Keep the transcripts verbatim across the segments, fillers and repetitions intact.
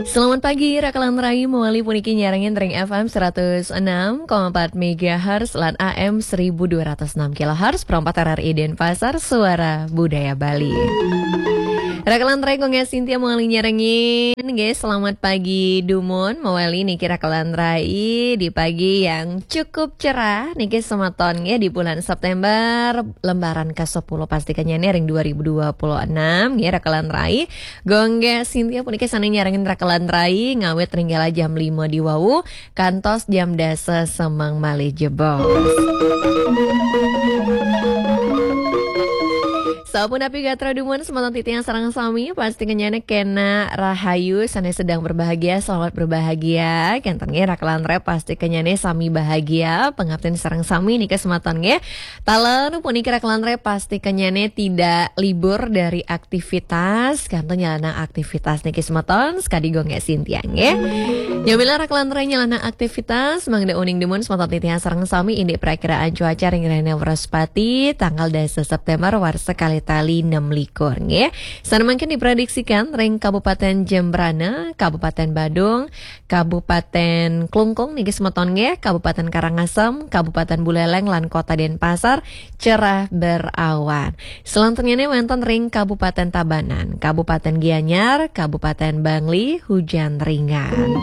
Selamat pagi, Rakalan Rai, mawali puniki nyarengin ring F M seratus enam koma empat megahertz lan A M seribu dua ratus enam kilohertz, perempat R R I Denpasar, Suara Budaya Bali. Rakalan Rai, Gung Sintia mawali nyarengin, nggih, selamat pagi dumun, mawali niki Rakalan Rai di pagi yang cukup cerah, niki semeton, nggih, di bulan September, lembaran ke sepuluh, pastikannya nih ring dua ribu dua puluh enam, nggih, Rakalan Rai. Gung Sintia puniki sane nyarengin Rakalan Rai, ngawit ring kala jam lima di wau, kantos jam dasa semeng malih jebos. Sapunapi gatra dumun semeton titiang sareng sami, pasti kenyane kena rahayu, sane sedang berbahagia, selamat berbahagia. Kenten nggih Rakalan Rai, pasti kenyane sami bahagia, pangaptin sareng sami nika semeton nggih. Taler puniki Rakalan Rai, pasti kenyane tidak libur dari aktivitas, kantos nyalana aktivitas niki semeton, sakadi Gung Sintia nggih. Nyamila Rakalan Rai nyalana aktivitas, mangda uning dumun semeton titiang sareng sami indik prakiraan cuaca ring rahina Wrespati, tanggal dasa September, warsa kalih tali enam likur nggih. Sane mangkin diprediksikan ring Kabupaten Jembrana, Kabupaten Badung, Kabupaten Klungkung niki semeton nggih, Kabupaten Karangasem, Kabupaten Buleleng lan Kota Denpasar, cerah berawan. Selanturnya wenten ring Kabupaten Tabanan, Kabupaten Gianyar, Kabupaten Bangli, hujan ringan.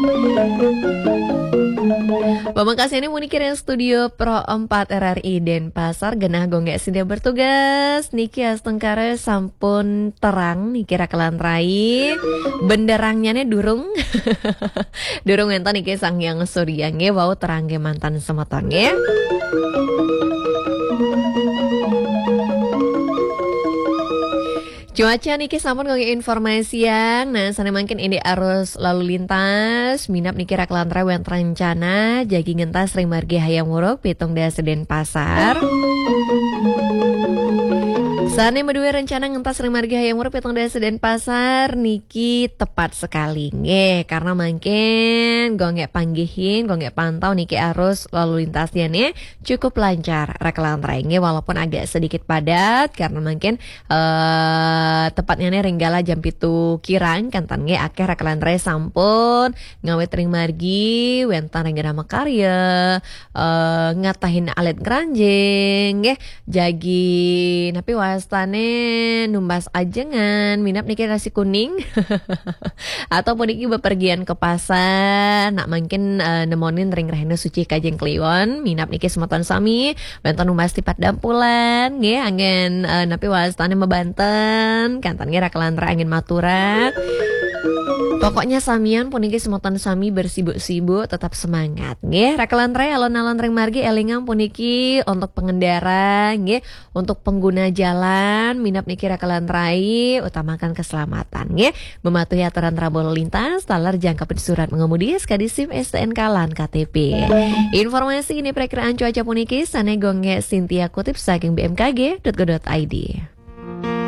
Pamekasane puniki ring Studio Pro empat R R I Denpasar, genah Gung Sintia bertugas, niki astungkara sampun terang niki Rakalan Rai. Benderangnya durung. Durung wenten niki Sang Hyang Surya nggih, wau terang kemanten semeton nggih. Cuaca niki sampun nggih informasiang, nah sane mangkin indik arus lalu lintas, minab niki Rakalan Rai wenten rencana jagi ngentas ring margi Hayam Wuruk pitung dasa Denpasar. Sane maduwe rencana ngentas ring margi Hayam Wuruk pitung dasa Denpasar niki tepat sekali nggih, karena mangkin Gung panggihin, Gung pantau niki arus lalu lintasnya nih cukup lancar Rakalan Rai nggih, walaupun agak sedikit padat karena mangkin eh, tepatnya nih ring kala jam pitu kirang, kenten nggih akeh Rakalan Rai sampun ngawit ring margi, wenten ring Grama Karya, eh, ngatahin alit ngranjing nggih, jagi napi wastane numbas ajengan, minab niki nasi kuning. Atau puniki bepergian ke pasar, nak mangkin eh, nemonin ring rahina Suci Kajeng Kliwon, minab niki semeton sami, wenten numbas tipat dampulan nggih, anggen eh, napi wastane mabanten, kenten nggih Rakalan Rai anggen maturan. Pokoknya samian puniki semeton sami bersibuk-sibuk, tetap semangat nggih. Rakalan Rai, alon-alon ring margi, elingang puniki untuk pengendara nggih, untuk pengguna jalan, minab niki Rakalan Rai, utamakan keselamatan nggih. Mematuhi aturan rambu lalu lintas, taler jangkepin surat mengemudi, S K D, SIM, S T N K lan K T P. Informasi indik prakiraan cuaca puniki sane Gung Sintia kutip saking B M K G dot go dot I D.